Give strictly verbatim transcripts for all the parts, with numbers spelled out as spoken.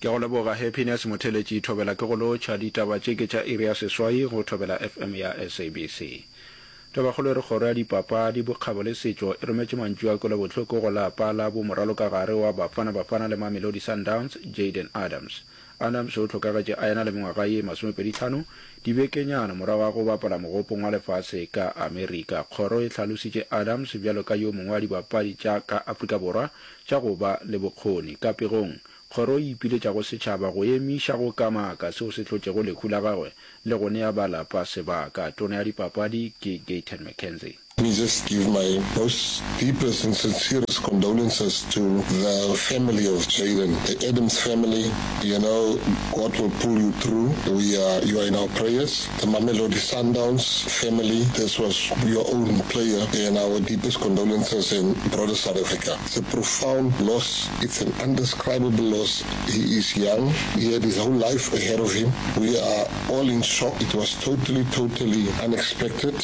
Ke a go leboga Happiness Motheletši Thobela ke go lotšha ditaba tše ke tša iri ya seswai go Thobela F M ya S A B C. Tabakgolo e re kgoro ya dipapadi, bokgabo le setšo e rometše mantšu a kwelobohloko go lapa la bo moralokagare wa Bafana Bafana le Mamelodi Sundowns, Jayden Adams. Adams o hlokagetše a ena le mengwaga ye masomepedi hlano, dibekenyana morago ga go bapala mogopong wa lefase ka Amerika. Kgoro e hlalositše Adams bjalo ka yo mongwe wa dibapadi tša ka Afrika Borwa tša go ba le bokgoni. Ka pegong, kgoro e ipiletša go setšhaba go emiša go kamaka seo se hlotšego lehu la gagwe le go nea ba lapa sebaka. Tona ya dipapadi ke Gayton McKenzie. Let me just give my most deepest and sincerest condolences to the family of Jayden, the Adams family. You know, God will pull you through. We are, you are in our prayers. The Mamelodi Sundowns family, this was your own player, and our deepest condolences in broader South Africa. It's a profound loss. It's an undescribable loss. He is young. He had his whole life ahead of him. We are all in shock. It was totally, totally unexpected.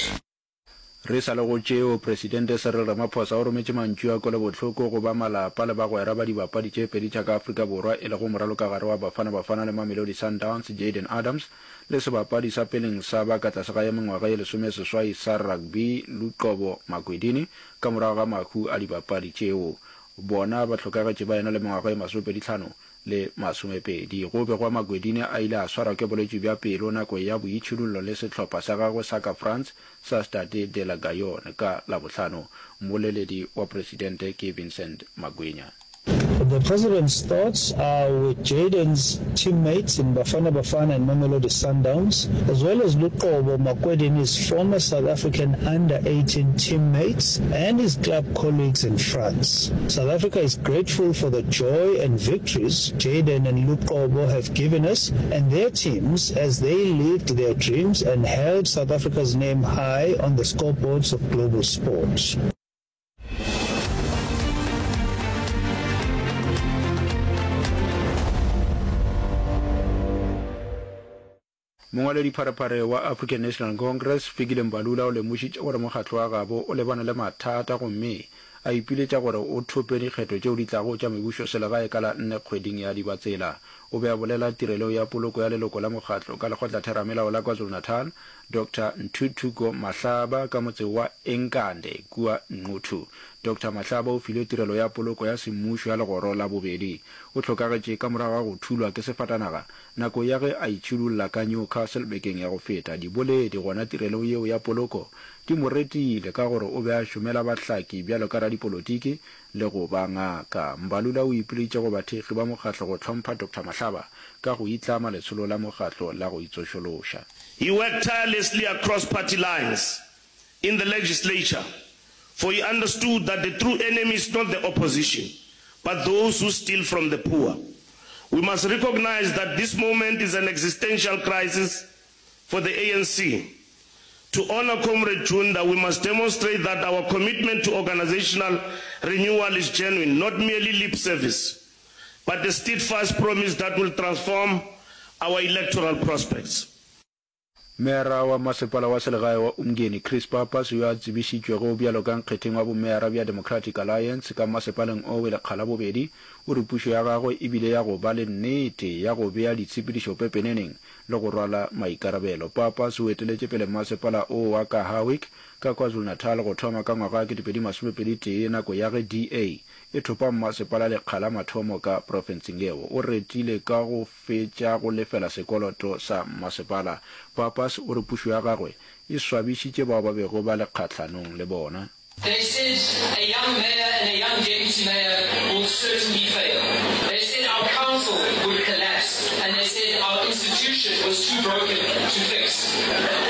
Re sa le go tšeo, Presidente Cyril Ramaphosa o rometše mantšu a kwelobohloko go ba malapa le bagwera ba dibapadi tše pedi tša ka Afrika Borwa e lego moralokagare wa Bafana Bafana le Mamelodi Sundowns Jayden Adams le sebapadi sa peleng sa ba ka tlase ga ya mengwaga ye lesomeseswai sa rugby Luqobo Makwedini ka morago ga mahu a dibapadi tšeo. Bona ba hlokagetše ba ena le mengwaga ye masomepedi hlano le masomepedi. Go begwa Makwedini a ile a swarwa ke bolwetši bja pelo nako ya boitšhidullo le sehlopha sa gagwe sa ka France sa Stade de la Gaillon ka Labohlano. Mmoleledi wa Presidente ke Vincent Magwenya. The president's thoughts are with Jayden's teammates in Bafana Bafana and Mamelodi Sundowns, as well as Luqobo Makwedini's former South African under eighteen teammates and his club colleagues in France. South Africa is grateful for the joy and victories Jayden and Luqobo have given us and their teams as they lived their dreams and held South Africa's name high on the scoreboards of global sport. Mongwaledipharephare wa African National Congress, Fikile Mbalula o lemošitše gore mokgatlo wa gabo o lebane le mathata gomme a ipiletša gore o thope dikgetho tšeo di tlago tša mebušoselegae ka la nne kgweding ya Dibatsela. O be a bolela tirelong ya poloko ya leloko la mokgatlo ka lekgotlatheramelao la KwaZulu-Natal, Doctor Ntuthuko Mahlaba ka motse wa Enkande kua Nquthu. Doctor Mahlaba o filwe tirelo ya poloko ya semmušo ya legoro la bobedi. O hlokagetše ka morago ga go thulwa ke sefatanaga nako ya ge a itšhidulla ka Newcastle bekeng ya go feta. Diboledi gona tirelong yeo ya poloko di mo retile ka gore o be a šomela bahlaki bjalo ka radipolotiki le go ba ngaka. Mbalula o ipileditše go bathekgi ba mokgatlo go hlompha Doctor Mahlaba ka go itlama letsholo la mokgatlo la go itsošološa. He worked tirelessly across party lines in the legislature, for he understood that the true enemy is not the opposition, but those who steal from the poor. We must recognize that this moment is an existential crisis for the A N C. To honor Comrade Junda, we must demonstrate that our commitment to organizational renewal is genuine, not merely lip service, but a steadfast promise that will transform our electoral prospects. Meyara wa Masepala wa Selegae wa Umngeni, Chris Pappas, yo a tsebišitšwego bjalo ka nkgetheng wa bomeyara bja Democratic Alliance ka masepaleng owe lekga la bobedi, o re pušo ya gagwe e bile ya go ba le nnete ya go bea ditshepedišo pepeneneng le go rwala maikarabelo. Pappas o eteletše pele masepala o wa ka Howick ka KwaZulu-Natal go thoma ka ngwaga wa kete pedi masome pedi tee nako ya ge D A e thopa mmasepala lekga la mathomo ka profenseng yeo. O retile ka go fetša go lefela sekoloto sa mmasepala. Pappas o re pušo ya gagwe e swabišitše bao ba bego ba le kgahlanong le bona. They said a young mayor and a young deputy mayor will certainly fail. They said our council would collapse, and they said our institution was too broken to fix.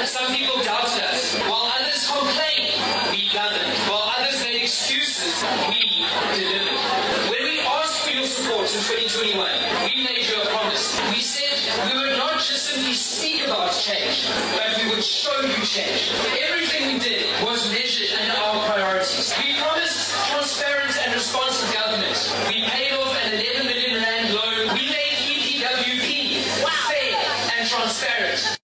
Some people doubted us. While others complained, we governed. While others made excuses, we delivered. When we asked for your support in twenty twenty-one, we made you a promise. We said we would not just simply speak about change, but we would show you change. Everything we did was measured under our priorities. We promised transparent and responsive government. We paid off an eleven million rand loan. We made E P W P fair and transparent.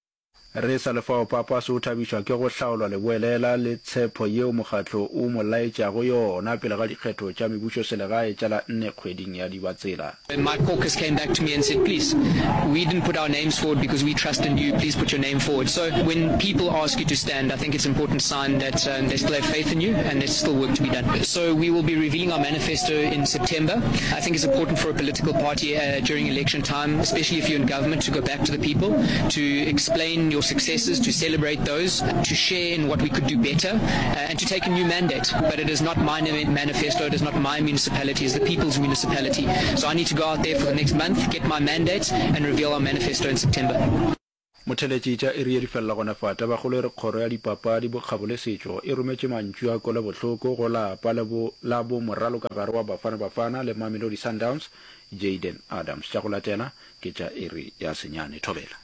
Re sa le fao, Pappas o thabišwa ke go hlaolwa leboelela le tshepo yeo mokgatlo o mo laetšago yona pele ga dikgetho tša mebušoselegae tša la nne kgweding ya Dibatsela. My caucus came back to me and said, please, we didn't put our names forward because we trust in you, please put your name forward. So when people ask you to stand, I think it's an important sign that um, they still have faith in you and there's still work to be done. So we will be revealing our manifesto in September. I think it's important for a political party uh, during election time, especially if you're in government, to go back to the people, to explain your successes, to celebrate those, to share in what we could do better, uh, and to take a new mandate. But it is not my manifesto, it is not my municipality, it's the people's municipality. So I need to go out there for the next month, get my mandate, and reveal our manifesto in September. Motheletši tša iri ye di felela gona fa. Tabakgolo e re Kgoro ya Dipapadi, Bokgabo le Setšo e rometše mantšu a kwelobohloko go lapa le bo la bo moralokagare wa Bafana Bafana le Mamelodi Sundowns, Jayden Adams. Tša go latela ke tša iri ya senyane. Thobela.